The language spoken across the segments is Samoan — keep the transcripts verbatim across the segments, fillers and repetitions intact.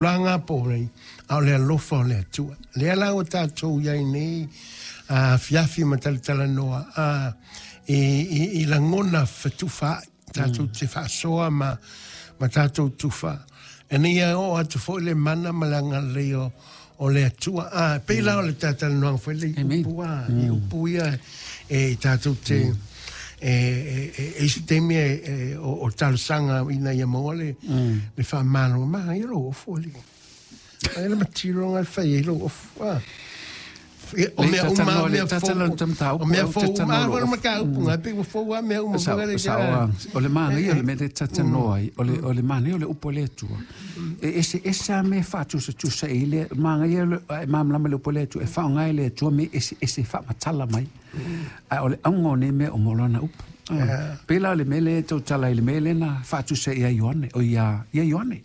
Tulaga po nei, a o le alofa o le Atua. Lea la ua tatou i ai nei afiafi ma talatalanoa a, i, i, i lagona fetufaai, tatou te faasoa ma, ma tatou tufa. Ina ia oo atu foi le mana ma le agalelei o, o le Atua. A, pei la o le talatalanoaga foi le i upu a, i upu ia e tatou te, e, e, e, e isi taimi e, e, o, o talosaga ina ia maua le, le faamalo ma ia lou ofu ali. Ai le matiro ngai fai ai lou ofu. Ah. O mea uma, o mea fou, o mea fou uma, o le mataupu ngai pe ua fou a mea uma. Sa, sa, o le manaia o le mea le tatatanoa ai, o le, o le manaia o le upu a le Atua. E ese ese a mea faatusatusa i le manaia o le malamalama le upu a le Atua, e faaaoga e le Atua me ese ese faamatala mai. Ae o le auga o nei mea o mo lana upu. Pei la o le mea lea e tautala i le mea lea na faatusa ia Ioane, o ia, ia Ioane.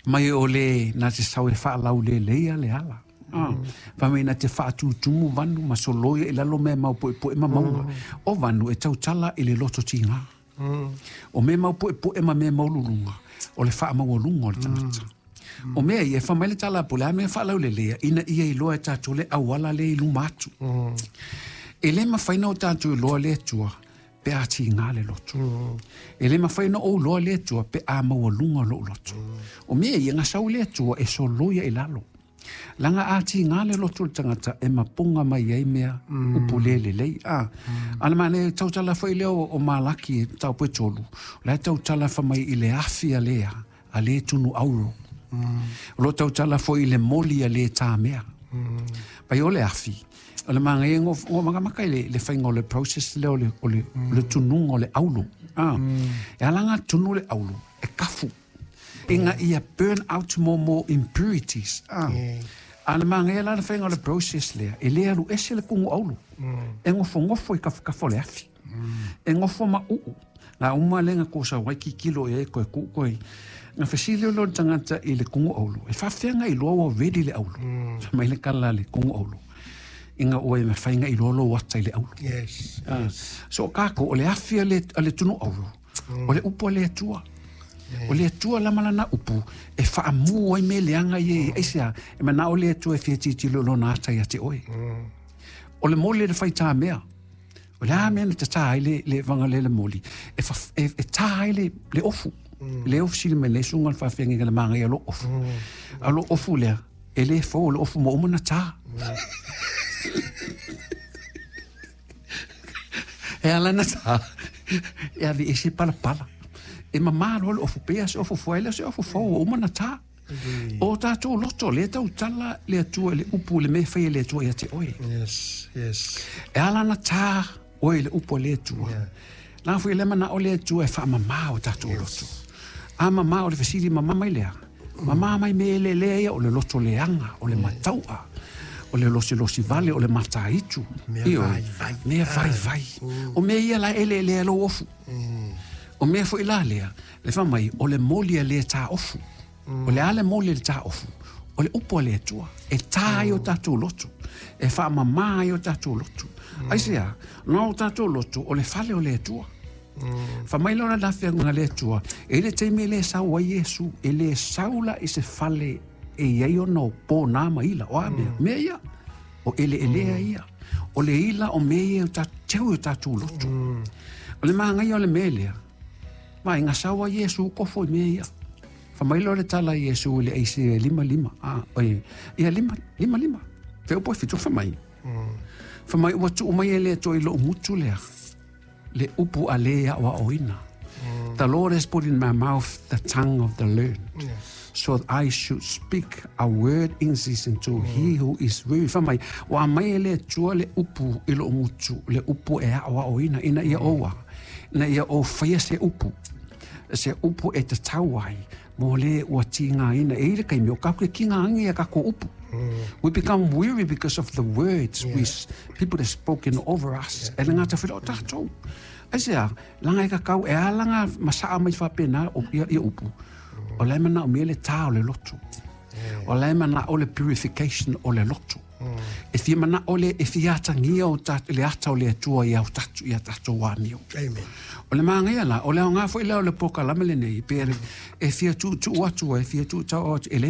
Mai o le na te sau e faalauleleia le ala. Ah, fa mai na te faatutumu vanu ma soloia i lalo mea mau poepoe ma mauga. O vanu e tautala i le loto tiga. O mea mau poepoe ma mea maululuga, o le faamaualuga o le tagata. O mea ia, e fai mai le tala po le a mea faalauleleia, ina ia iloa e tatou le auala lea i luma atu. E le mafai ona o tatou iloa le Atua pe a tiga le loto. E le mafai ona ou iloa le Atua pe a maualuga lou loto. O mea ia, gasau le Atua e soloia i lalo. Laga a tiga le loto o le tagata e mapoga mai ai mea upu le lelei. A, a le mane tautala foi lea o, o Malaki tau pe tolu. La e tautala fa mai i le afi a lea, a le tunu auro. O lo tautala foi i le moli a le tā mea. Pai o le afi. O le manaia ngo ngo makamaka i le le faiga o le process lea o le o le o le tunuga o le aulo. Ah. E ala nga tunu le aulo e kafu. Ina ia burn out more more impurities. Ah. A le manaia la le faiga o le process lea, e le alu ese le kugu aulo. E gofogofo i kafukafu o le afi. E gofo ma uu. La uma le nga kosa wai kikilo e koe ku koe. Nga fesili o le tagata i le kugu aulo. E faafeaga iloa ua ready le aulo. Mai le kala le kugu aulo. Inga oe me whainga i loa lo ata i le aulo. Yes. Ah, so kako o le afi a le, a le tunu aulo. O le upu a le Atua. O le Atua la malana upu e faamu ai me leaga i e aisea e mana o le Atua e fia titilo lona ata ia te oe. O le moli le whai tā mea. O le a mea na te tā ai le, le vanga le le moli. E, fa, e, e tā ai le, le ofu. Le ofu sili me le sunga le whawhengi le manga ia lo ofu. A lo ofu lea, e le fo le ofu mo uma na tā. E ala na tā. E ave e se pala pala. E mamalo le ofu pea se ofu fuaile se ofu fo o uma na tā. O tātou loto, le tau tala le Atua le upu le mea whai le Atua ia te oe. Yes, yes. E ala na tā oe le upu le Atua. Yeah. La foi le mana o le Atua e whaamamā o tātou loto. A mamā o le fesili mamā mai lea. Mamā mai me le lea ia o le loto leanga, o le mataua, o le losi losi vale, o le mataitu. Mea Io, vai vai. Mea vai vai. O mea ia la ele lea lo ofu. O mea foi la lea, le fa mai, o le moli a le tā ofu. O le ale moli le tā ofu. O le upu a le Atua. E tā ai o tātou loto. E whaamamā ai o tātou loto. Aisea, nā o tātou loto, o le fale o le Atua. Fa mai lona la fea le Atua. E le teime le sau ai Iesu, e le saula i se fale e iai ona o pō nā ma ila. O a mea, mea ia. O ele elea ia. O le ila o mea ia o tātou o tātou loto. O le maangai o le mea lea. Mai ngā sau a Iesu kofo i mea ia. Fa mai loa le tala i Iesu i le eise e lima lima. Ah, oe, ia lima, lima lima. Fe upo e fitu fa mai. Fa mai ua tuu mai e le Atua i lou gutu lea. Le upu a le a oa oina. The Lord has put in my mouth the tongue of the learned. Yes. So that I should speak a word in season to he who is weary. Fa mai, ua mai e le Atua le upu i lou gutu, le upu e a oa oina, ina ia oua. Ina ia o whaia se upu. Se upu e te tau ai, mo le ua tinga ina. E ile kai meo, kako e kinga angi e kako upu. We become weary because of the words Yeah. which people have spoken over us. E le ngata whiro o tātou. Aisea, langa e kakau, e alanga masaa mai whapena o ia, ia upu. O le mana o mea le tā o le loto. O le mana o le purification o le loto. E fia mana o le, e fia atangia o tā, le ata o le Atua ia o tātou, ia tātou wāmio. Amen. O le maangaia la, o le aoga foi lea o le pokalame lenei, pe e fia tuutuu atu ai, e fia tuutao atu, e le